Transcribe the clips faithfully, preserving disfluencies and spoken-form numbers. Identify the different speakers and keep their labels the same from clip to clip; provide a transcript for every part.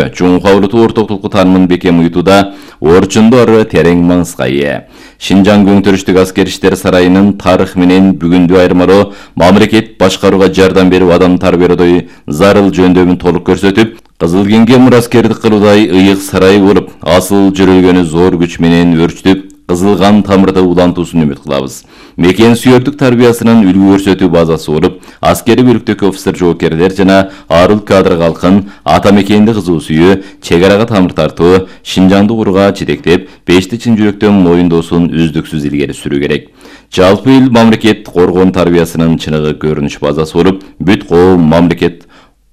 Speaker 1: көрүнүштөрү чоң кабылдуу ортоктук таанымын бекем уютууда орчундор терең маңызга ээ. Шинжаң Көңтөрүштүк аскер иштер сарайынын тарых менен бүгүндү айырмалоо, мамлекет башкарууга жардам берип адам тарбиялоодо зарыл жөндөмүн толук көрсөтүп, Кызыл Кеңге мураскердик кылуудай ыйык сарай болуп, асыл жөрөлгөнү зор күч менен өрчүтүп, кызылган тамырды улантуусун үмүт кылабыз. Мекен сүйөктүк тарбиясынын үлгү көрсөтүү базасы болуп, аскери бөлүктөгү офицер жоокерлер жана арыл кадр калкын ата мекенди кызуу сүйүү, чек арага тамыр тартуу, Шинжаңды курууга жетектеп, бешти чын жүрөктөн моюндоосун үздүксүз илгери сүрүү керек. Жалпы эл мамлекет коргоон тарбиясынын чыныгы көрүнүш базасы болуп, бүт коом мамлекет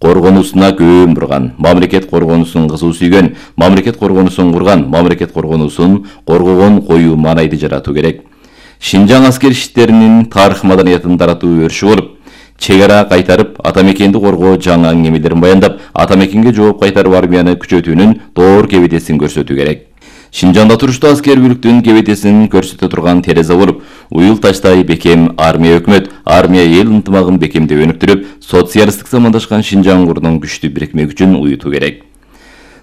Speaker 1: коргонуусуна көөн бурган, мамлекет коргонуусун кызуу сүйгөн, мамлекет коргонуусун курган, мамлекет коргонуусун коргогон коюу маанайды жаратуу керек. Шинжаң аскер иштеринин тарых маданиятын таратуу өрүшү болуп, чек ара кайтарып, ата мекенди коргоо жаңы аңгемелерин баяндап, ата мекенге жооп кайтарып армияны күчөтүүнүн доор кебетесин көрсөтүү керек. Шинжаңда туруштуу аскер бүлүктүн кебетесин көрсөтө турган терезе болуп, уюл таштай бекем армия өкмөт, армия эл ынтымагын бекемдеп өнүктүрүп, социалисттик замандашкан Шинжаң курунун күчтүү бирикме күчүн уютуу керек.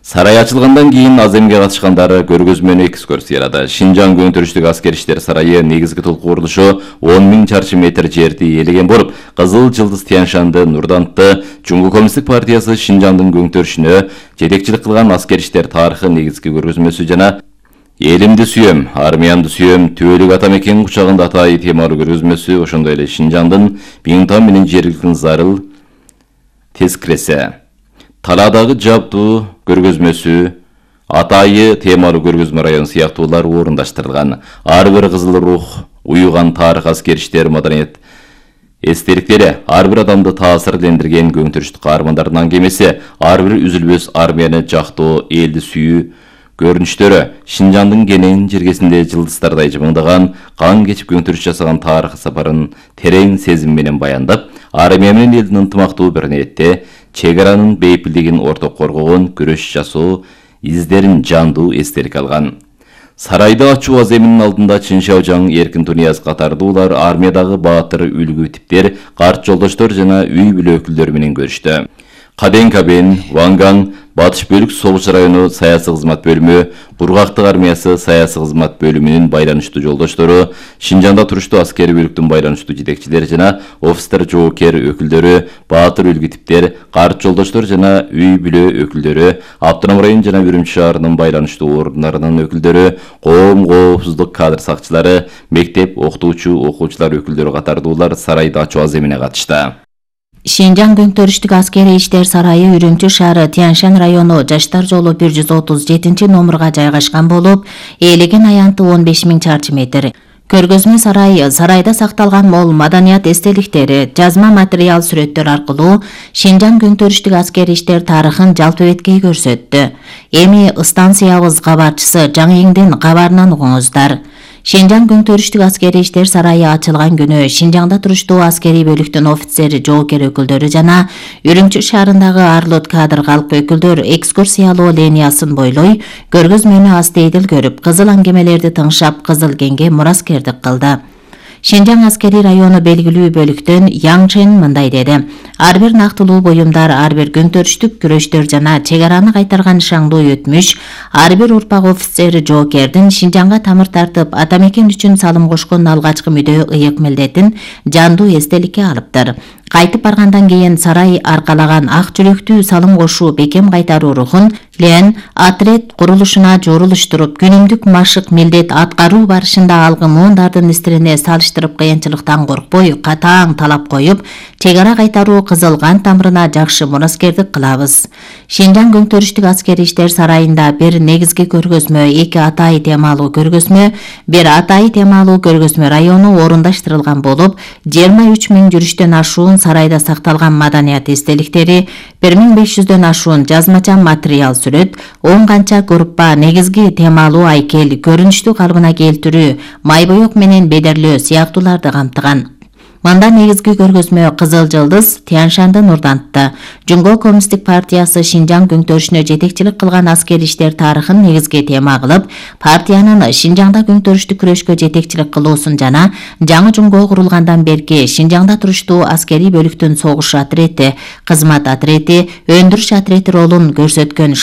Speaker 1: Сарай ачылгандан кийин аземге катышкандары көргөзмөнү экскурсиялады. Шинжаң Көңтөрүштүк аскер иштер сарайы негизги толку курулушу он миң чарчы метр жерди ээлеген болуп, Кызыл Жылдыз Тянь-Шанды Нурдантты Жумгу Коммунисттик партиясы Шинжаңдын көңтөрүшүнө жетекчилик кылган аскер иштер тарыхы негизги көргөзмөсү жана Элимди сүйөм, армиямды сүйөм, түбөлүк ата мекен кучагында атайы темалуу көргөзмөсү, ошондой эле Шинжаңдын Биңтан менен жергиликтин зарыл тескиресе, Таладагы жабдуу көргөзмөсү, атайы темалуу көргөзмө район сыяктуулар орундаштырылган. Ар бир кызыл рух уюган тарых аскер иштер маданият эстеликтери, ар бир адамды таасирлендирген көңтөрүштүк каармандардын аңгемеси, ар бир үзүлбөс армияны жактоо, элди сүйүү көрүнүштөрү, Шинжаңдын кенен жергесинде жылдыздардай жымыңдаган, кан кечип көңтөрүш жасаган тарых сапарын терең сезим менен баяндап, армия менен элдин ынтымактуу бир ниетте чек аранын бейпилдигин орток коргогон күрөш жасоо издерин жандуу эстелик алган. Сарайды ачуу аземинин алдында Чын Шаожаң, Эркин Тунияз катардуулар армиядагы баатыр үлгү типтер, карт жолдоштор жана үй бүлө өкүлдөрү менен көрүштү. Каден Кабен, Ванган, Батыш бөлүк согуш району саясий кызмат бөлүмү, Кургактык армиясы саясий кызмат бөлүмүнүн байланыштуу жолдоштору, Шинжаңда туруштуу аскери бөлүктүн байланыштуу жетекчилери жана офицер жоокер өкүлдөрү, баатыр үлгү типтер, карт жолдоштор жана үй бүлө өкүлдөрү, Автоном район жана Үрүмчү шаарынын байланыштуу орундарынын өкүлдөрү, коом коопсуздук кадр сакчылары, мектеп окутуучу окуучулар өкүлдөрү катардуулар сарайды ачуу аземине катышты.
Speaker 2: Шинжаң Көңтөрүштүк аскери иштер сарайы Үрүмчү шаары Тянь-Шань району Жаштар жолу бир жүз отуз жетинчи номурга жайгашкан болуп, ээлеген аянты он беш миң чарчы метр. Көргөзмө сарайы сарайда сакталган мол маданият эстеликтери, жазма материал сүрөттөр аркылуу Шинжаң Көңтөрүштүк аскери иштер тарыхын жалпы беткей көрсөттү. Эми станциябыз кабарчысы Жаңыеңдин кабарынан угуңуздар. Шинжаң Көңтөрүштүк аскери иштер сарайы ачылган күнү Шинжаңда туруштуу аскери бөлүктүн офицери, жоокер өкүлдөрү жана Үрүмчү шаарындагы арлык кадр калк өкүлдөр экскурсиялоо линиясын бойлой көргөзмөнү астейдил көрүп, кызыл аңгемелерди тыңшап, Кызыл Кеңге мураскердик кылды. Шинжаң аскери району белгилүү бөлүктөн Яң Чен мындай деди: ар бир нактылуу буюмдар, ар бир көңтөрүштүк күрөштөр жана чек араны кайтарган шаңдуу өтмүш, ар бир урпак офицер жоокердин Шинжаңга тамыр тартып, ата мекен үчүн салым кошкон алгачкы мүдөө ыйык милдетин жандуу эстеликке алыптыр. Кайтып баргандан кийин сарай аркалаган ак жүрөктүү салым кошуу, бекем кайтаруу рухун лен отряд курулушуна жорулуштуруп, күнүмдүк машык милдет аткаруу барышында алгы муундардын истирине салыштырып, кыйынчылыктан коркпой, катаң талап коюп, чек ара кайтаруу кызыл кан тамырына жакшы мураскердик кылабыз. Шинжаң Көңтөрүштүк аскери иштер сарайында бир негизги көргөзмө, эки атайы темалуу көргөзмө, бир атайы темалуу көргөзмө району орундаштырылган болуп, жыйырма үч миң жүрүштөн ашуун сарайда сакталган маданият эстеликтери, бир миң беш жүздөн ашуун жазмача материал сүрөт, он канча группа негизги темалуу айкел, көрүнүштү калыбына келтирүү, май боек менен бедерлөө сыяктууларды камтыган. Мында негизги көргөзмө Кызыл Жылдыз Тянь-Шанды Нурдантты. Жумгу Коммунисттик партиясы Шинжаң Көңтөрүшүнө жетекчилик кылган аскери иштер тарыхын негизги тема кылып, партиянын Шинжаңда көңтөрүштүк күрөшкө жетекчилик кылуусун жана жаңы жумгу курулгандан берки Шинжаңда туруштуу аскери бөлүктүн согуш отрети, кызмат отрети, өндүрүш отрети ролун көрсөткөн